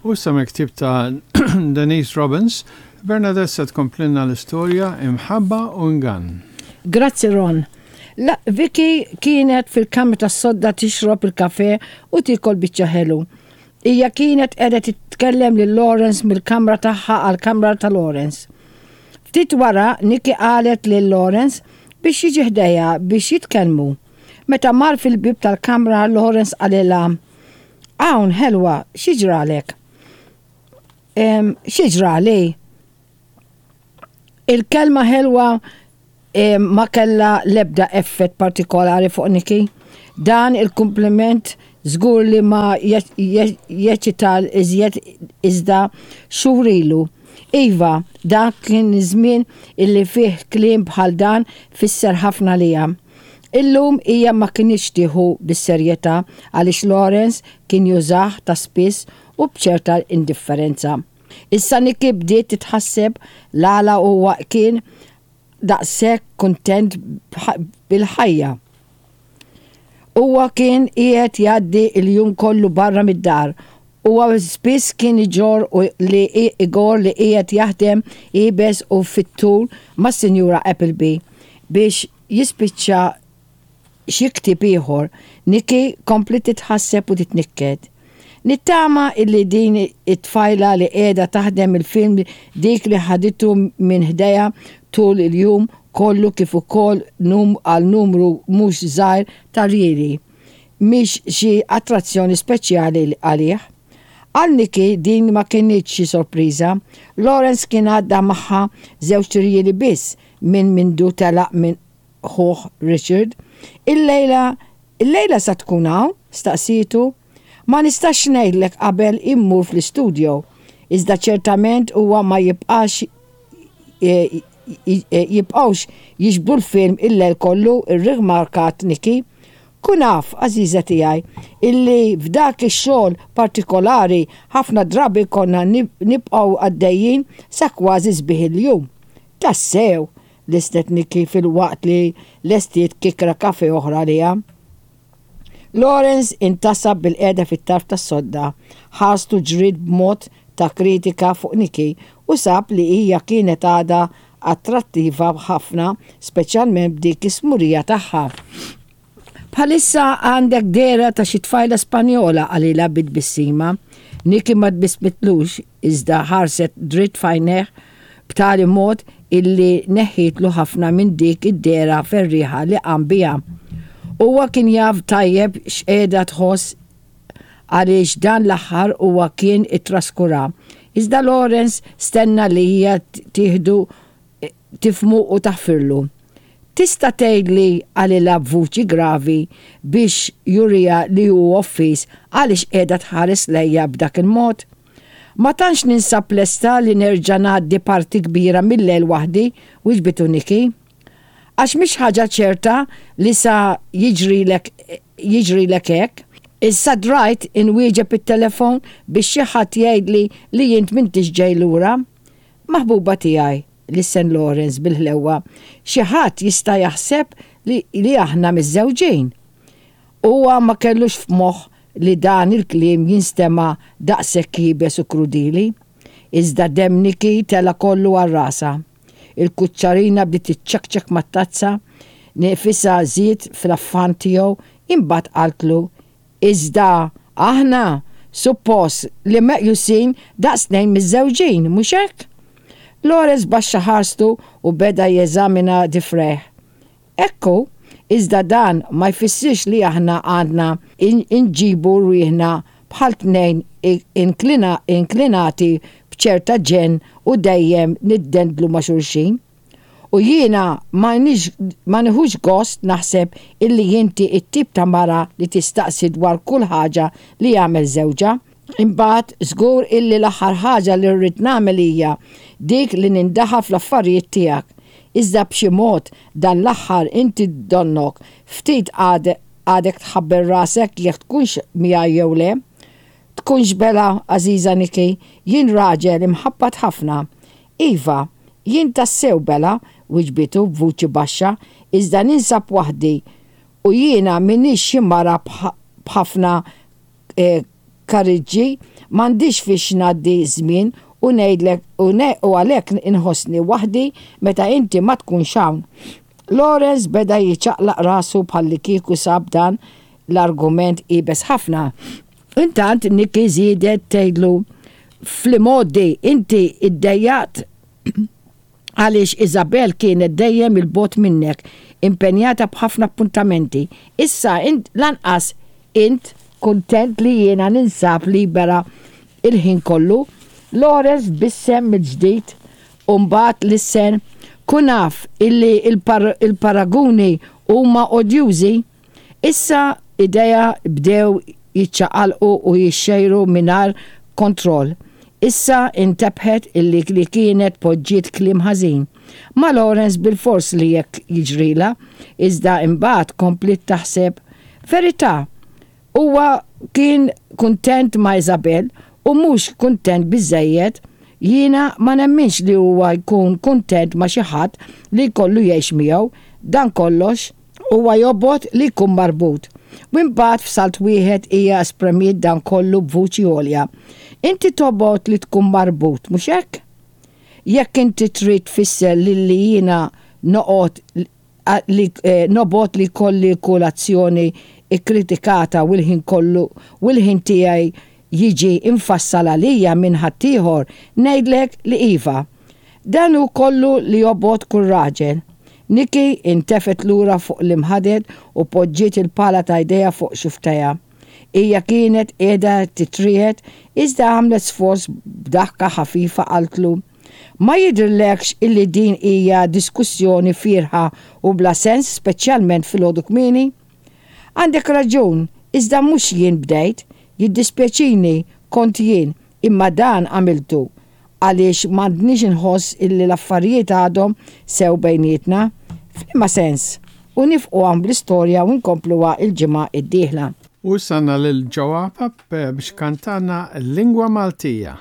U issa mill-ktieb ta' Denise Robbins, Bernadette se tkomplilna l-istorja Imħabba u Ingann. Grazzi Ron. La, Vicky kienet fil-kamra tas-sodda tixrob il-kafè u tiekol biċċa ħelu. Hija kienet qiegħda titkellem lil Lawrence mill-kamra tagħha għall-kamra ta' Lawrence. Ftit wara, Nikki qalet lil Lawrence biex jiġi ħdejha biex jitkellmu. Meta mar fil-bieb tal-kamra, Lawrence qalilha, Hawn, ħelwa, xi ġralek? Xi ġrali? Il-kelma ħelwa ma kellha l-ebda effett partikolari fuq Nikki. Dan il-kumpliment żgur li ma jeċċita iżjed iżda xhur ilu. Iva, dak kien żmien illi fih kliem bħal dan fisser ħafna għaliha. Illum hija ma kinitx tieħu bis-serjetà għaliex Lawrence kien jużah ta' spiss u b'ċerta indifferenza. Issa Nikki bdiet titħasseb l-għala huwa kien daqshekk kuntent bil-ħajja. Huwa kien qiegħed jgħaddi l-jum kollu barra mid-dar. Huwa spiss kien iġorr li igorr li qiegħed jaħdem iebes u fit-tul mas-Sinjura Appleby biex jispiċċa xi ktieb ieħor. Nikki kompliet titħasseb u titnikket. Nittama illi din it-tfajla li qiegħda taħdem il-film dik li ħaditu minn ħdejha tul il-jum kollu kif ukoll għal numru mhux żgħir ta' rjieli, mhix xi attrazzjoni speċjali għalih. Għal Nikki din ma kinitx xi sorpriża. Lawrence kien għadda magħha żewġ rjieli biss minn mindu telaq minn ħuh Richard. Illejla, illejla sa tkun hawn? staqsietu. Ma nistax ngħidlek qabel immur fl-istudio. Iżda ċertament huwa ma jibqax jibqgħux jiġbdu l-film il-lejl kollu, irrimarkat Nikki. Kun af, għażiża tiegħi, illi f'dak ix-xogħol partikolari ħafna drabi konna nibqgħu għaddejjin sa kważi sbieħ il-jum. Tassew! lissnet Nikki filwaqt li lestiet kikra kafè oħra għaliha. Lawrence intasab bilqiegħda fit-tarf tas-sodda, ħarstu ġriet b'mod ta' kritika fuq Nikki u sab li hija kienet għadha attrattiva ħafna speċjalment b'dik is-smurija tagħha. Bħalissa għandek dehra ta' xi tfajla Spanjola, qalilha bi tbissima. Nikki ma tbissmitlux iżda ħarset dritt f'għajnejh b'tali mod illi neħħietlu ħafna minn dik id-dehra ferrieħa li qam biha. Huwa kien jaf tajjeb x'qiegħda tħoss għaliex dan l-aħħar huwa kien ittraskura. Iżda Lawrence stenna li hija tieħdu tifhmu u taħfirlu. Tista' tgħidli, qalilha b'vuċi gravi biex juriha li hu offiż, għaliex qiegħda tħares lejja b'dak il-mod? Ma tantx ninsab lesta li nerġa' ngħaddi parti kbira mil-lejl waħdi, wiġbitu Nikki. Għax mhix ħaġa ċerta li sa jiġrilek jiġrilek hekk. Issa drajt inwieġeb it-telefon biex xi ħadd jgħidli li int m'intix ġej lura. Maħbuba tiegħi, lissen Lawrence bil-ħlewwa, xi ħadd jista' jaħseb li li aħna miżżewġin. Huwa ma kellux f'moħħ li dan il-kliem jinstema' daqshekk iebes u krudili. Iżda demm Nikki tela' kollu għal rasha. Il-kuċċarina bdiet tiċċekċek mat-tazza, nifisha żied fl-affann tiegħu, imbagħad qaltlu Iżda aħna suppost li meqjusin daqs tnejn miżżewġin, mhux hekk? Lawrence baxxa ħarstu u beda jeżamina difrejh. Hekk hu, iżda dan ma jfissirx li aħna għandna nġibu rwieħna bħal tnejn inklinati b'ċerta ġenn u dejjem niddendlu ma' xulxin. U jiena ma ma nieħux gost naħseb illi inti t-tip ta' mara li tistaqsi dwar kull ħaġa li jagħmel żewġha. Imbagħad żgur illi l-aħħar ħaġa li rrid nagħmel hija dik li nindaħal fl-affarijiet tiegħek. Iżda b'xi mod dan l-aħħar inti donnok ftit għadek tħabbel rasek jekk tkunx miegħi jew le. Tkunx belha, għażiża Nikki, jien raġel imħabbat ħafna. Iva, jien tassew belha, wiġbitu b'vuċi baxxa, iżda ninsab waħdi u jiena m'iniex xi mara b'ħafna kariġġi. M'għandix fiex ngħaddi ż-żmien u ngħidlek u u għalhekk inħossni waħdi meta inti ma tkunx hawn. Lawrence beda jiċaqlaq rasu bħallikieku sab dan l-argument iebes ħafna. Intant Nikki żiedet tgħidlu, Fl-imgħoddi inti ddejjaqt għaliex Isabel kienet dejjem 'il bogħod minnek, impenjata b'ħafna appuntamenti. Issa int lanqas int kuntent li jiena ninsab libera l-ħin kollu. Lawrence tbissem mill-ġdid u mbagħad lissen, Kun af illi l-paraguni huma odjużi. Issa idejha bdew jiċċaqalqu u jixxejru mingħajr kontroll. Issa intebħet illi li kienet poġġiet kliem ħażin. Ma' Lawrence bilfors li hekk jiġrilha, iżda imbagħad kompliet taħseb, Verità, huwa kien kuntent ma' Isabel u mhux kuntent biżżejjed. Jiena ma nemminx li huwa jkun kuntent ma' xi ħadd li jkollu jgħix miegħu. Dan kollox. Huwa jobgħod li jkun marbut. U imbagħad f'salt wieħed hija espremiet dan kollu b'vuċi għolja. Inti tobgħod li tkun marbut, mhux hekk? Jekk inti trid tfisser lilli jiena noqgħod li nobgħod li jkolli kull azzjoni kkritikata u l-ħin kollu u l-ħin tiegħi jiġi mfassal għalija minn ħaddieħor, ngħidlek li iva. Dan hu kollu li jobgħod kull raġel. Nikki intefgħet lura fuq l-imħaded u poġġiet il-pala ta' jdejha fuq xufftejha. Hija kienet qiegħda titriegħed iżda għamlet sforz b'daħka ħafifa qaltlu, Ma jidhirlekx illi din hija diskussjoni fierħa u bla sens speċjalment filgħodu kmieni? Għandek raġun, iżda mhux jien bdejt. Jiddispjaċini, kont jien, imma dan għamiltu għaliex m'għandnix inħoss illi l-affarijiet għadhom sew bejnietna? F'liema sens? U nifqu hawn bl-istorja u nkompluha l-ġimgħa d-dieħla. U issa għandna lil Joe Apap biex ikantalna l-lingwa Maltija.